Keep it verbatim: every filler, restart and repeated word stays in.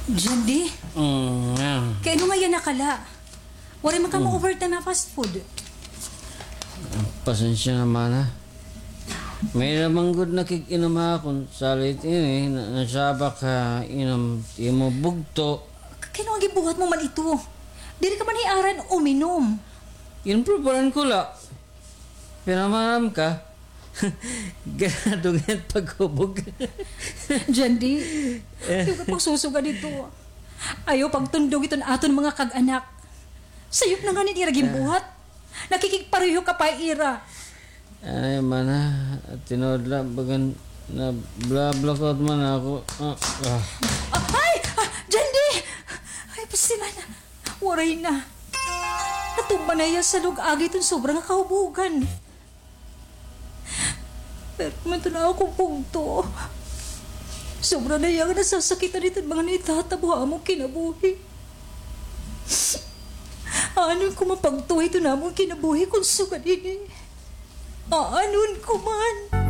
Jandy? Mm, ah. Kay ano nga yana ka la? Waray man ka mo-overtime ha fast food. Pasensya na, mana. May-ada man gud nakig-inom ha akon salit ini, na, nasabak ha inom it imo bugto. K-, kay ano nga ginbuhat mo man ito? Diri ka man hiaran uminom. Ginprobaran ko la. Pinamaram ka? Ganado nga it paghubog. Jandy, ayaw ka pagsusuga dito. Ayaw pagtundog iton aton mga kag-anak. Sayop na ngani it ira ginbuhat. Nakikigpareho ka pa ha ira. Ay, mana, tinuod la, bagan na-blackout man ako. Ah, ah. Ah, ay! Ah, Jandy! Ay, pastilan. Waray na. Natumba na hiya sa lug-agi iton sobra nga kahubogan. Pero man ito na akon bugto. Sobra na hiya nga nasasakitan iton mga nahitatabo ha amon kinabuhi. Aanon ko man pagtuhay iton amon kinabuhi kon sugad ini? Aanon ko man?